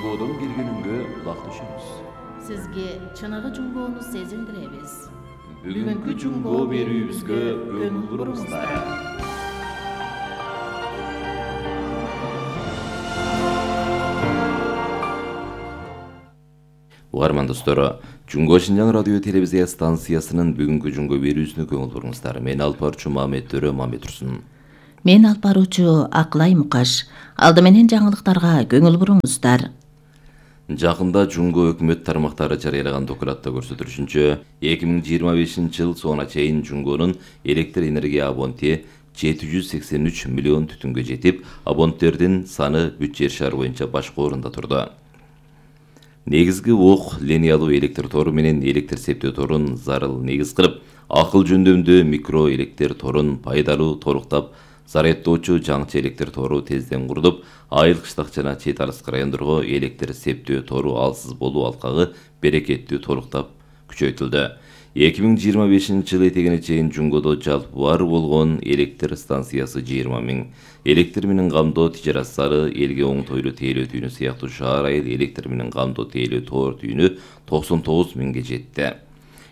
Жунгодон келгениңге кулак түшөбүз. Сизге чыныгы жунгоону сезиндиребиз. Бүгүнкү жунгоо берүүбүзгө көңүл буруңуздар. Угарман достор, Жунго Шинжаң радио телевизия станциясынын бүгүнкү жунгоо берүүсүнө көңүл буруңуздар. Мен алып баруучу Мамет Төрө Мамедурсун. Мен алып баруучу Акылай Мукаш. Алды менен жаңылыктарга көңүл буруңуздар. Жакында Жунго өкмөт тармактары жарыялаган докладта көрсөтүлүшүнчө, 2025 жыл соңуна чейин Жунгонун электр энергия абоненти 783 миллион түтүнгө жетип, абоненттердин саны бүт жер шары боюнча башкы орунда турду. Негизги ок линиялуу электр тору менен электр септөө торун зарыл негиз кылып, акыл жөндөмдүү микро электр торун пайдалуу толуктап, зарядтоочу жаңчы электр тору тезден курулуп, айыл кыштак жана чет аралык райондорго электр септөө тору алсыз болуу алкагы берекеттүү толуктап күчөйтүлдү. 2025 жыл этегине чейин Жунгодо жалпы бар болгон электр станциясы 20 миң, электр менен камдоо тижарат залы, элге оңтойлуу тейлөө түйүнү сыяктуу шаар айыл электр менен камдоо тейлөө тоор түйүнү 99 миңге жетти.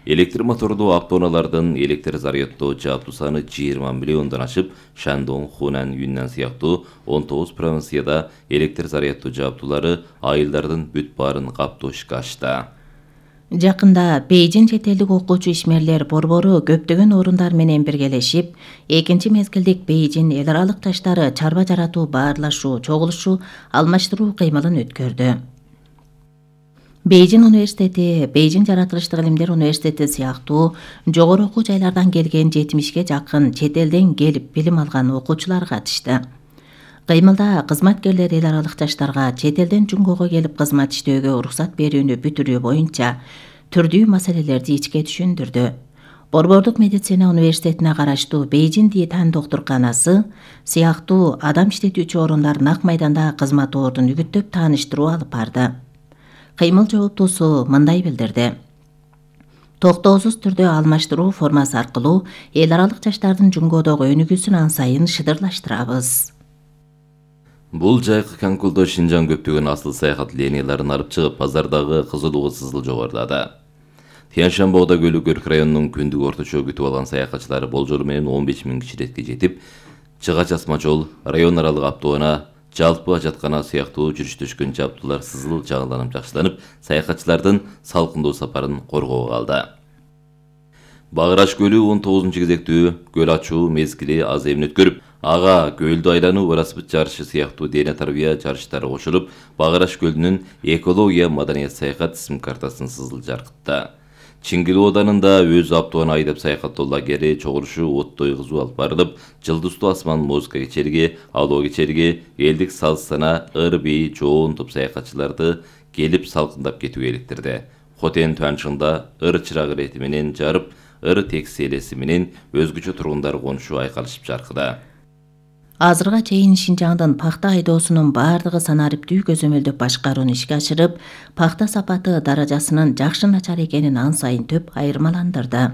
Электр мотордуу автоунаалардын электр зарядтоо жааптуу саны 20 миллиондон ашып, Шандон, Хунан, Юннан сыяктуу 19 провинцияда электр зарядтоо жааптуулары айылдардын бүт баарын каптоо ишке ашты. Жакында Бейжин чет элдик окуучу ишмерлер борбору көптөгөн орундар менен биргелешип, экинчи мезгилдик Бейжин эл аралык таштары чарба жаратуу баарлашуу, чогулушу, алмаштыруу кыймылын өткөрдү. Бейжин университети, Бейжин жаратылыштык илимдер университети сыяктуу жогору окуу жайлардан келген 70ге жакын чет элден келип билим алган окуучулар катышты. Кыймылда кызматкерлер эл аралык таштарга чет элден Жунгого келип кызмат иштөөгө уруксат берүүнү бүтүрүү боюнча түрдүү маселелерди ичке түшүндүрдү. Борбордук медицина университетине караштуу Бейжин Диетан доктурканасы сыяктуу адам иштетүүчү орундар нак майданда кызматордун үгүттөп тааныштыруу алып барды. Кыймыл жооптуусу мындай билдирди. Токтоосуз түрдө алмаштыруу формасы аркылуу эл аралык жаштардын Жунгодогу өнүгүүсүн ан сайын шыдырлаштырабыз. Бул жайкы конкурсдо Шинжаң көптөгөн асыл саякат линияларын алып чыгып, базардагы кызылууга сызыл жогорулады. Тянь-Шаньбода Көлүк Өрк районунун күндүк орточо күтүп алган саякатчылары болжолу менен 15 миң киширетке жетип, Чыгач асма жол, район аралык автоунаа, жалпы ажаткана сыяктуу жүрүштөшкөн жабдуулар сызыл жаңыланып жакшыланып, саякатчылардын салкындоо сапарын коргоого алды. Багыраш көлү 19 кезектүү көл ачуу мезгили аз эмне өткөрүп, ага көлдү айлануу велосипед жарышы сыяктуу дене тарбия жарыштары кошулуп, Багыраш көлүнүн экология маданият саякат исим картасын сызыл жаркытты. Чиңгил оданында өз автоуна айдап саякаттоо лагери чогулушу оттой кызуу алып барылып, Жылдыздуу асман музыка кечелиги, алоо кечелиги, элдик саз сана, ыр-бий, жоон топ саякатчыларды келип салкындап кетүүгө иликтирди. Хотен Туанчыңда ыр чырак ирети менен жарып, ыр текси элеси менен өзгөчө тургундар конушу айкалышып жаркыда. Азырга чейин Шинжаңдын пахта айдоосунун бардыгы санариптүү көзөмөлдөп башкарууну ишке ашырып, пахта сапаты даражасынын жакшы начар экенин ан сайын төп айырмаландырды.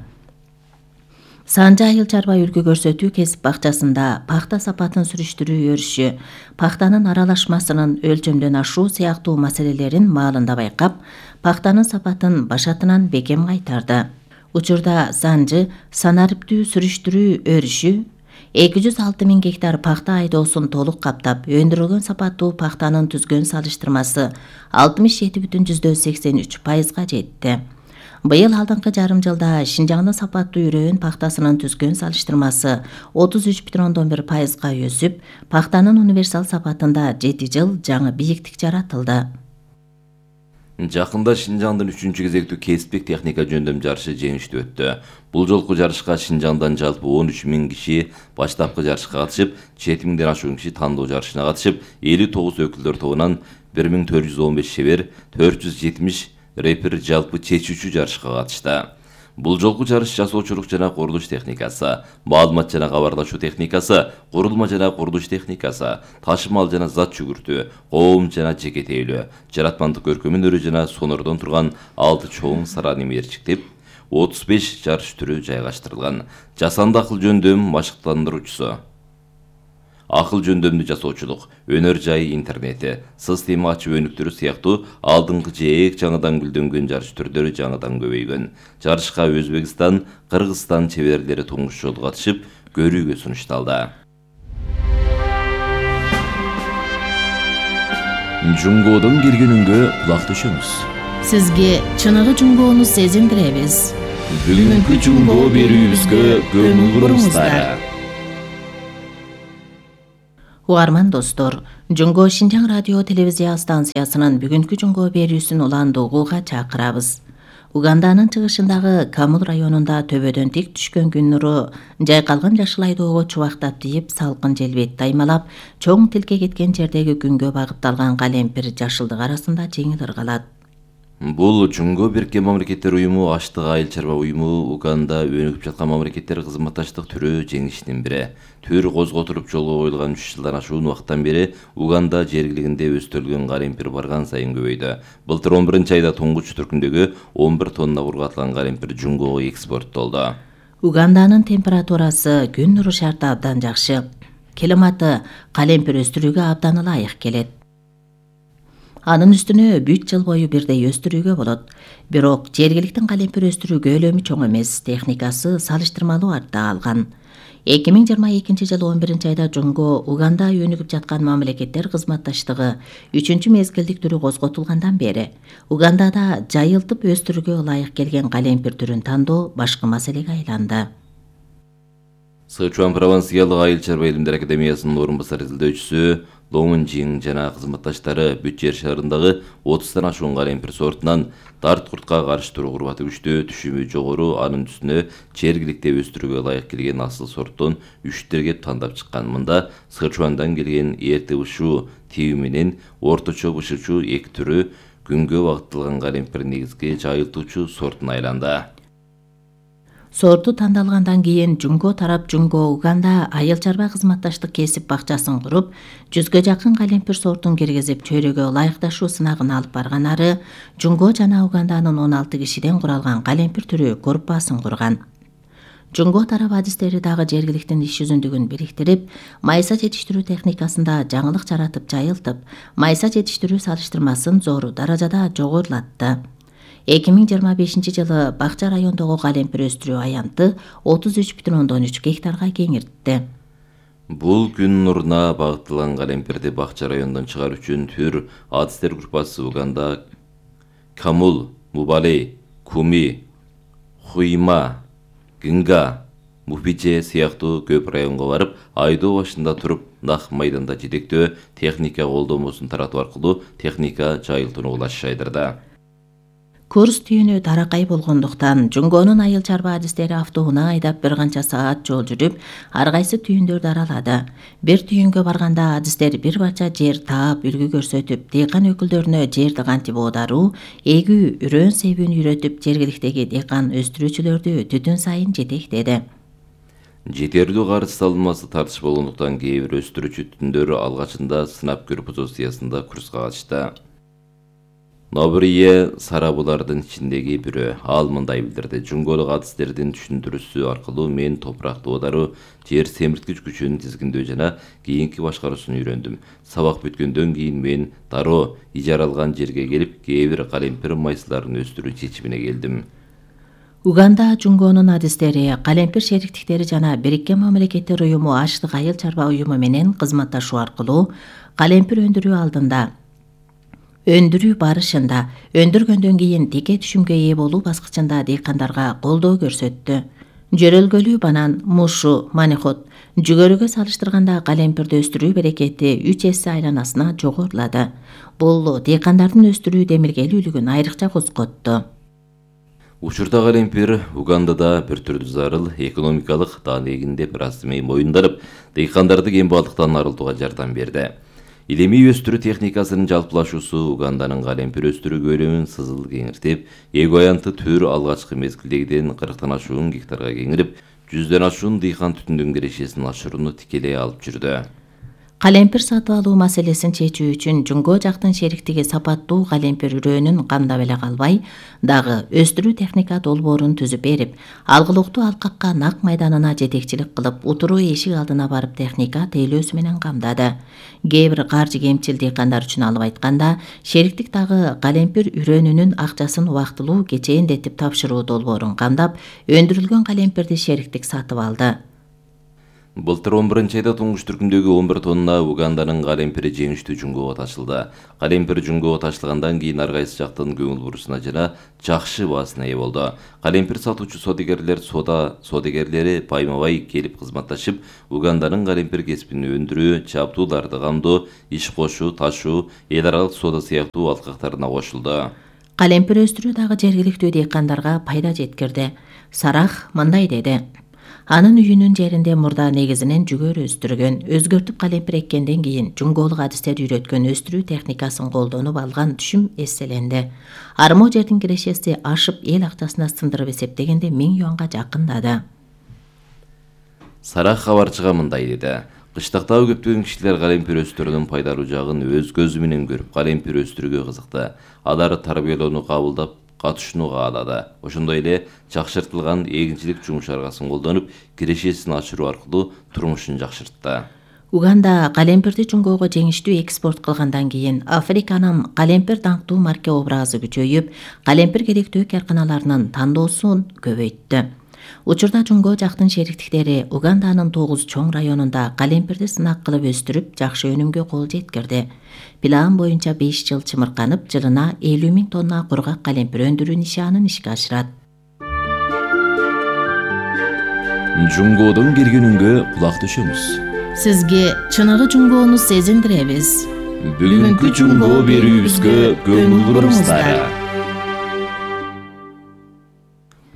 Санжа айыл чарба үлгү көрсөтүү кесип бакчасында пахта сапатын сүрүштүрүү өрүшү, пахтанын аралашмасынын өлчөмдөн ашуу сыяктуу маселелерин маалында байкап, пахтанын сапатын башатынан бекем кайтарды. Учурда Санжы санариптүү сүрүштүрүү өрүшү 206 миң гектар пахта айдоосун толук каптап, өндүрүлгөн сапаттуу пахтанын түзгөн салыштырмасы 67,83%га жетти. Быйыл алдыңкы жарым жылда Шинжаңдын сапаттуу үрөөн пахтасынын түзгөн салыштырмасы 33,1%га өсүп, пахтанын универсал сапатында 7 жыл жаңы бийиктик жаратылды. Жакында Шинжаңдын 3-чү кезектүү кесиптик техника жөндөм жарышы жеңиштүү өттү. Бул жолку жарышка Шинжаңдан жалпы 13 миң киши баштапкы жарышка катышып, 7 миңден ашуун киши тандоо жарышына катышып, 59 өкүлдөр тобунан 1415 шебер, 470 рэпер жалпы чечүүчү жарышка катышты. Бул жолку жарыш жасоочулук жана курулуш техникасы, маалымат жана кабарлашуу техникасы, курулма жана курулуш техникасы, ташымал жана зат жүгүртүү, коом жана жеке тейлөө, жаратмандык көркөм өнөрү жана сонордон турган 6 чоң сараны мерчиктеп, 35 жарыш түрү жайгаштырылган. Жасанды акыл жөндөм машыктандыруучусу акыл жөндөмдү жасоочулук, өнөр жай интернети, система ачып өнүктүрүү сыяктуу алдыңкы же эк жаңыдан гүлдөнгөн жарыш түрлөрү жаңыдан көбөйгөн. Жарышка Өзбекстан, Кыргызстан чеберлери туңуш жолу катышып, көрүүгө сунушталды. Жунгодон келгенүнгө кулак төшөңүз. Сизге чыныгы жунгоону сезиндиребиз. Бүгүнкү жунгоо берүүбүзгө көңүл буруңуздар. Угарман достор, Жунгоо Шинжаң радио телевизия станциясынын бүгүнкү жунгоо берүүсүн уланды угууга чакырабыз. Уганданын чыгышындагы Камул районунда төбөдөн тик түшкөн күн нуру жайкалган жашыл айдоого чубактап тийип, салкын жел бетти аймалап, чоң тилке кеткен жердеги күнгө багытталган калемпир жашылдык арасында жеңил ыргалат. Бул Жунгоо Бириккен Мамлекеттер уюму Аштык айыл чарба уюму Уганда өнүгүп жаткан мамлекеттер кызматташтык түрү жеңишинин бири. Төр козготулуп жолго коюлган 3 жылдан ашуун убакыттан бери Уганда жергилигинде өстүрүлгөн калемпир барган сайын көбөйдү. Былтыр 11-айда туңгуч түркүндөгү 11 тонна ургатылган калемпир Жунгоого экспорттолду. Уганданын температурасы күн нуру шарты абдан жакшы. Климаты калемпир өстүрүүгө абдан ылайык келет. Анын үстүнө бүт жыл бою бирдей өстүрүүгө болот. Бирок жергиликтин калемпир өстүрүү көлөмү чоң эмес, техникасы салыштырмалуу артта калган. 2022 жылы 11-айда Жунгоо Уганда өнүгүп жаткан мамлекеттер кызматташтыгы 3-чү мезгилдик түрү козготулгандан бери Угандада жайылтып өстүрүүгө ылайык келген калемпир түрүн тандоо башкы маселеге айланды. Сычуан провинциялык айыл чарба илимдер академиясынын орун басар изилдөөчүсү Лоңун Жиң жана кызматташтары бүт жер шарындагы 30тан ашуун калемпир сортунан дарт куртка каршы туруу курбаты күчтүү, түшүмү жогору, анын үстүнө жергиликте өстүрүүгө ылайык келген асыл сорттон 3 тандап чыккан. Мында Сычуандан келген эрте бышуу тиби менен орточо бышуучу 2 түрү күнгө багытталган калемпир негизги жайылтуучу сортуна айланды. Сорту тандалгандан кийин Жунгоо тарап Жунгоо Уганда айыл чарба кызматташтык кесип бакчасын куруп, 100гө жакын калемпир сортун киргизип, чөйрөгө ылайыкташуу сынагын алып барган ары Жунгоо жана Уганданын 16 кишиден куралган калемпир түрү группасын курган. Жунгоо тарап адистери дагы жергиликтин иш жүзүндүгүн бириктирип, майса жетиштирүү техникасында жаңылык жаратып жайылтып, майса жетиштирүү салыштырмасын зор даражада жогорулатты. 2025 жылы Бакча райондогу калемпир өстүрүү аянты 33,3 гектарга кеңиртти. Бул күн нуруна багытталган калемпирди Бакча районунан чыгаруу үчүн төр адистер группасы Уганда Камул, Мубалей, Куми, Хуйма, Гинга, Муфиже сыяктуу көп районго барып, айдоо башында туруп, нак майданда жетектөө, техника колдомосун таратуу аркылуу техника жайылтууну улашайдырды. Курс түйүнү таракай болгондуктан Жунгоонун айыл чарба адистери автоунаа айдап бир канча саат жол жүрүп, ар кайсы түйүндөрдү аралады. Бир түйүнгө барганда адистер бир бача жер таап, үлгү көрсөтүп, дыйкан өкүлдөрүнө жерди кантип оодаруу, эгүү, үрөн себүүнү үйрөтүп, жергиликтеги дыйкан өстүрүүчүлөрдү түтүн сайын жетектеди. Жетерлүү карыз салынмасы тартыш болгондуктан кээ бир өстүрүүчү түтүндөр алгачында сынап көрүү позициясында курска катышты. Нобрие Сарабулардын ичиндеги бирөө ал мындай билдирди. Жунгоолук адистердин түшүндүрүүсү аркылуу мен топуракты оодаруу, жер семирткич күчүн тизгиндөө жана кийинки башкаруусун үйрөндүм. Сабак бүткөндөн кийин мен дароо ижаралган жерге келип, кээ бир калемпир майсаларын өстүрүү чечимине келдим. Уганда Жунгоонун адистери, калемпир шериктиктери жана Бириккен Мамлекеттер уюму Аштык айыл чарба уюму менен кызматташуу аркылуу калемпир өндүрүү алдында, өндүрүү барышында, өндүргөндөн кийин тике түшүмгө ээ болуу баскычында дыйкандарга колдоо көрсөттү. Жөрөлгөлүү банан, мушу, манихот жүгөрүгө салыштырганда калемпирди өстүрүү берекети 3 эсе айланасына жогорулады. Бул дыйкандардын өстүрүү демилгелүүлүгүн айрыкча козготту. Учурда калемпир Угандада бир түрдүү зарыл экономикалык даанегинде бир аз моюнданып, дыйкандарды кембалдыктан арылтууга жардам берди. Илимий өстүрүү техникасынын жалпылашуусу Уганданын калемпир өстүрүү көлөмүн сызыл кеңиртип, эки аянты төр алгачкы мезгилдегиден 40тан ашуун гектарга кеңирип, 100дөн ашуун дыйкан түтүндүн кирешесин ашырууну тикелей алып жүрдү. Калемпир сатып алуу маселесин чечүү үчүн Жуңго жактын шериктиги сапаттуу калемпир үрөөнүн камдап эле калбай, дагы өстүрүү техника долбоорун түзүп берип, алгылыктуу алкакка нак майданына жетекчилик кылып, утуруу эшик алдына барып техника тейлөөсү менен камдады. Кээ бир каржы кемчил дыйкандар үчүн алып айтканда, шериктик дагы калемпир үрөөнүнүн акчасын убактылуу кечээндетип тапшыруу долбоорун камдап, өндүрүлгөн калемпирди шериктик сатып алды. Былтыр 11-айда туңгуш түркүмдөгү 11 тонна Уганданын калемпири жеңиштүү Жуңгого ташылды. Калемпир Жуңгого ташылгандан кийин ар кайсы жактын көңүл бурусуна жана жакшы баасына ээ болду. Калемпир сатуучу содегерлери байма-бай келип кызматташып, Уганданын калемпир кесибин өндүрүү, чаптууларды камдоо, иш кошуу, ташуу, эл аралык соода сыяктуу алкактарына кошулду. Калемпир өстүрүү дагы жергиликтүү дыйкандарга пайда жеткирди. Сарах мындай деди: Анын үйүнүн жеринде мурда негизинен жүгөр өстүргөн, өзгөртүп калемпир эккенден кийин жуңголук адистерди үйрөткөн өстүрүү техникасын колдонуп алган түшүм эсселенди. Армоо жердин кирешеси ашып эл акчасына сындырып эсептегенде 1000 юанга жакындады. Сарах кабарчыга мындай деди: Кыштактагы көптөгөн кишилер калемпир өстүрүүнүн пайдалуу жагын өз көзү менен көрүп, калемпир өстүрүүгө кызыкты. Алар тарбиялоону кабылдап, катышууну каалады. Ошондой эле жакшыртылган эгинчилик жумуш аргасын колдонуп, кирешесин ачыруу аркылуу турмушун жакшыртты. Уганда калемпирди Жуңгого жеңиштүү экспорт кылгандан кийин Африканын калемпир даңктуу марке образы күчөйүп, калемпир керектүү карканаларынын тандоосун көбөйттү. Учурда Жуңго жактын шериктиктери Уганданын 9 чоң районунда калемпирди сынак кылып өстүрүп, жакшы өнүмгө кол жеткирди. План боюнча 5 жыл чымырканып, жылына 50 000 тонна кургак калемпир өндүрүү нишаанын ишке ашырат. Жуңгодон келгенүнгө кулак төшөмүз. Сизге чыныгы Жуңгону сезиндиребиз. Бүгүнкү Жуңго берүүбүзгө көңүл буруңуздар.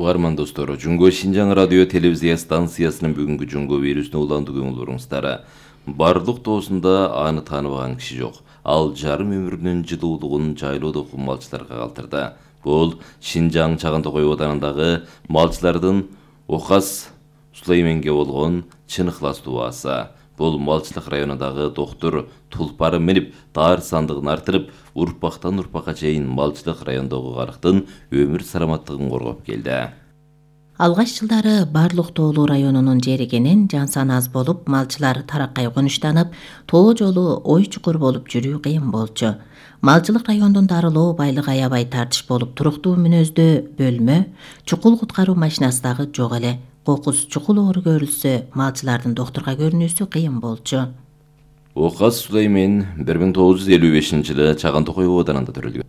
Угарман достор, Жуңго Шинжаң радио телевизия станциясынын бүгүнкү Жуңго берүүсүнө уланды көңүл буруңуздар. Бардык тоосунда аны тааныбаган киши жок. Ал жарым өмүрүнүн жылуулугун жайлоодо малчыларга калтырды. Бул Шинжаң Чаган Токой Оданындагы малчылардын Окас Сулейменге болгон чын ыхластуу баасы. Бул малчылык районундагы доктур тулпары минип, таар сандыгын артырып, урпактан урпакка чейин малчылык райондогу карыктын өмүр саламаттыгын коргоп келди. Алгач жылдары барлык тоолуу районунун жери кенен, жан саны аз болуп, малчылар тараккай конуштанып, тоо жолу ой чукур болуп жүрүү кыйын болчу. Малчылык райондун дарылоо байлыгы аябай тартыш болуп, туруктуу мүнөздө бөлмө, чукул куткаруу машинасы дагы жок эле. Кокус чукул оору көрүлсө, малчылардын доктурга көрүнүүсү кыйын болчу. Окас Сулеймен 1955-жылы Чаган Токой Оданында төрөлгөн.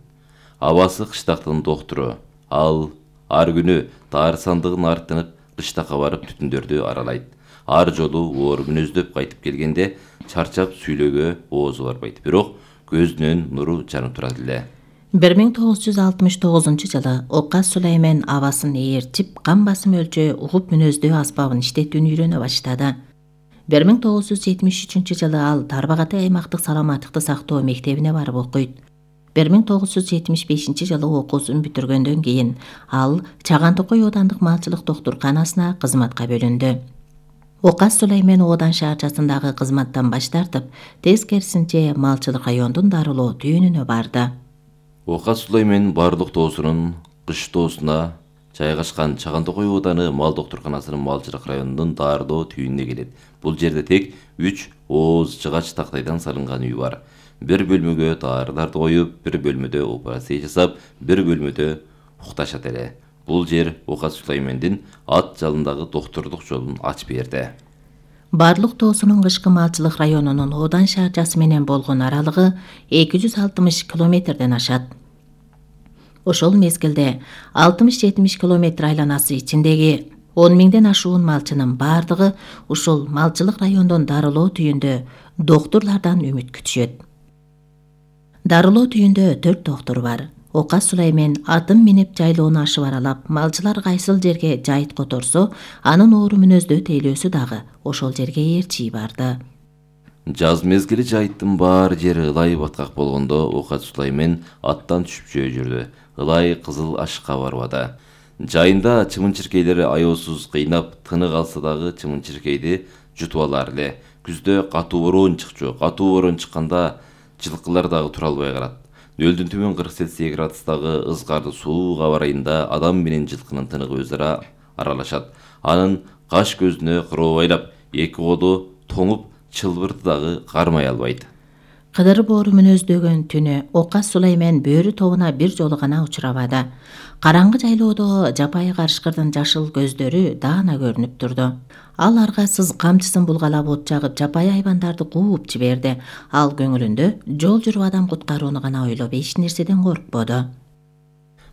Абасы кыштактын доктуру. Ал ар күнү таар сандыгын артынып, кыштакка барып түтүндөрдү аралайт. Ар жолу оору мүнөздөп кайтып келгенде чарчап сүйлөөгө оозу барбайт. Бирок көзүнөн нуру жанып турат эле. 1969 жылы Окас Сулеймен абасын ээрчип, кан басым өлчөө, угуп мүнөздөө аспабын иштетүүнү үйрөнө баштады. 1973 жылы ал Тарбагатай аймактык саламаттыкты сактоо мектебине барып окуйт. 1975 жылы окуусун бүтүргөндөн кийин ал Чаган Токой Оодандык малчылык доктурканасына кызматка бөлүндү. Окас Сулеймен Оодан шаарчасындагы кызматтан баш тартып, тескерисинче малчылык райондун дарылоо түйүнүнө барды. Окас Сулеймен бардык тоосунун кыш тоосуна жайгашкан Чаган Токой Ооданы мал доктурканасынын малчылык районунун дарылоо түйүнүнө келет. Бул жерде тек 3 ооз жыгач тактайдан салынган үй бар. Бир бөлмөгө даарыларды коюп, бир бөлмөдө операция жасап, бир бөлмөдө укташат эле. Бул жер Окас Сулеймендин ат жалындагы доктурдук жолун ачып берди. Барлык тоосунун кышкы малчылык районунун Оодан шаарчасы менен болгон аралыгы 260 километрден ашат. Ошол мезгилде 60-70 километр айланасы ичиндеги 10 000ден ашуун малчынын бардыгы ушул малчылык райондон дарылоо түйүндө доктурлардан үмүт күтүшөт. Дарылоо түйүндө 4 доктур бар. Окас Сулеймен атын минип жайлоону ашып аралап, малчылар кайсыл жерге жайыт которсо, анын оору мүнөздөө тейлөөсү дагы ошол жерге ээрчий барды. Жаз мезгили жайыттын баары жери ылай баткак болгондо Окас Сулеймен аттан түшүп жөө жүрдү. Ылай кызыл ашыкка барбады. Жайында чымын-чиркейлери аеосуз кыйнап, тыны калса дагы чымын-чиркейди жутуп алар эле. Күздө катуу бороон чыкчу. Катуу бороон чыкканда жылкылар дагы тура албай калат. Нөлдүн төмөн 40 градустагы ызгарды суук аба ырайында адам менен жылкынын тыныгы өз ара аралашат. Анын каш көзүнө кырообайлап, эки коду тоңуп, чылбырды дагы кармай албайт. Кыдыр боору мүнөздөгөн түнү Окас Сулаймен бөрү тобуна бир жолу гана учурабады. Караңгы жайлоодо жапайы карышкырдын жашыл көздөрү даана көрүнүп турду. Ал аргасыз камчысын булгалап от жагып, жапайы айбандарды кууп жиберди. Ал көңүлүндө жол жүрүп адам куткарууну гана ойлоп, эч нерседен коркподу.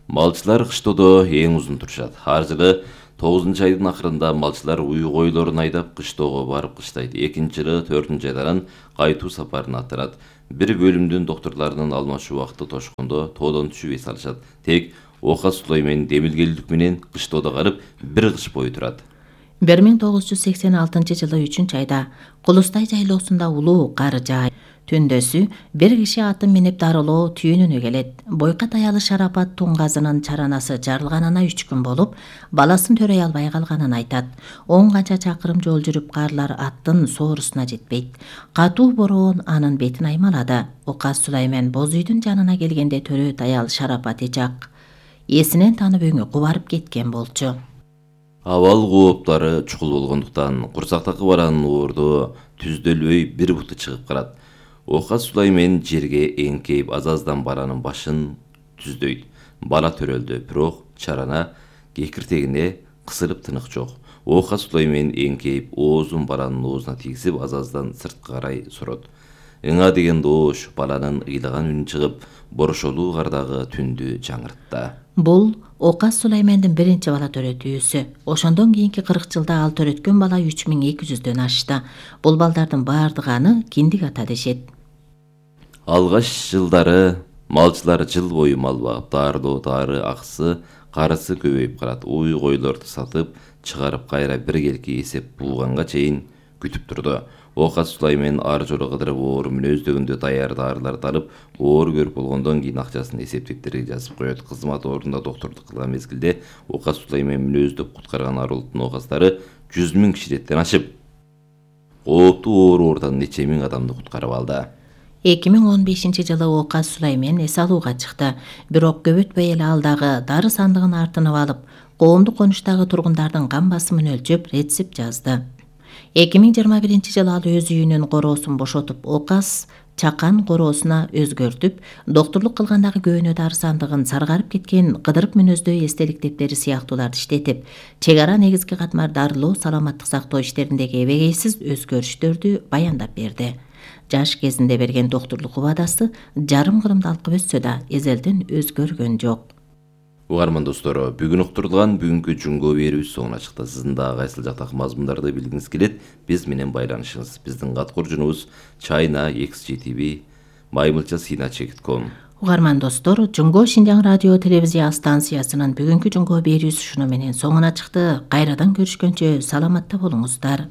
Малчылар кыштоодо эң узун турушат. Ар жылы 9-айдын акырында малчылар уй койлорун айдап кыштоого барып кыштайт. 2-жылы 4-айдан кайтуу сапарына аттанат. Бир бөлүмдүн доктурларынын алмашуу убакыты тошкондо тоодон түшүп эс алышат. Тек Окас Сулаймен демилгелдик менен кыштоодо калып, бир кыш бою турат. 1986-жылы 3-айда Кулустай жайлоосунда улуу кар жаайт. Түндөсү бир киши атын минип дарылоо түйүнүнө келет. Бойка таялы Шарапат Туңгазынын чаранасы жарылганына 3 күн болуп, баласын төрөй албай калганын айтат. 10 канча чакырым жол жүрүп, карлар аттын соорусуна жетпейт. Катуу бороон анын бетин аймалады. Окас Сулаймен боз үйдүн жанына келгенде төрө таялы Шарапат эжак эсинен таанып өңү кубарып кеткен болчу. Абал кооптары чукул болгондуктан курсактагы баланын уурду түздөлбөй бир буту чыгып калат. Окас Сулаймен жерге эңкейип азаздан баланын башын түздөйт. Бала төрөлдү, бирок чарана кекиртегине кысылып тынык жок. Окас Сулаймен эңкейип оозун баланын оозуна тийгизип азаздан сырткы карай сурот. Ыңа деген доош баланын ыйлаган үнү чыгып, борошолуу кардагы түндү жаңыртты. Бул Окас Сулаймендин биринчи бала төрөтүүсү. Ошондон кийинки 40 жылда ал төрөткөн бала 3200дөн ашты. Бул балдардын баардыгы аны киндик ата дешет. Алгаш жылдары малчылар жыл бою мал багып, даарылоо дары акысы, карысы көбөйүп калат. Уй койлорду сатып, чыгарып кайра бир келки эсеп булганга чейин күтүп турду. Окас Сулаймен ар жолу кыдырып оору мүнөздөгөндө даяр дарыларды алып, оору көрүп болгондон кийин акчасын эсеп дефтерге жазып коет. Кызмат ордунда доктурлук кылган мезгилде Окас Сулаймен мүнөздөп куткарган арулуктун окастары 100 000 кишиден ашып, кооптуу оору ордан нече миң адамды куткарып алды. 2015-жылы Окас Сулаймен эс алууга чыкты. Бирок көп өтпөй эле ал дагы дары сандыгын артынып алып, коомдук конуштагы тургундардын кан басымын өлчөп, рецепт жазды. 2021-жылы ал өз үйүнүн короосун бошотуп, Окас чакан короосуна өзгөртүп, доктурлук кылгандагы көөнө дары сандыгын, саргарып кеткен кыдырып мүнөздөй эстелик дептери сыяктууларды иштетип, чек ара негизги катмар дарылоо, саламаттык сактоо иштериндеги эбегейсиз өзгөрүштөрдү баяндап берди. Жаш кезинде берген доктурлук убадасы жарым кырымды алкып өтсө да эзелден өзгөргөн жок. Угарман достору, бүгүн уктурулган бүгүнкү Жунго берүүбүз соңуна чыкты. Сиздин дагы кайсыл жактагы мазмундарды билгиңиз келет, биз менен байланышыңыз. Биздин кат куржунубуз china@xgtv maymылча@cina.com. Угарман достор, Жунго Шинжаң радио телевизия станциясынын бүгүнкү Жунго берүүсү ушуну менен соңуна чыкты. Кайрадан көрүшкөнчө саламатта болуңуздар.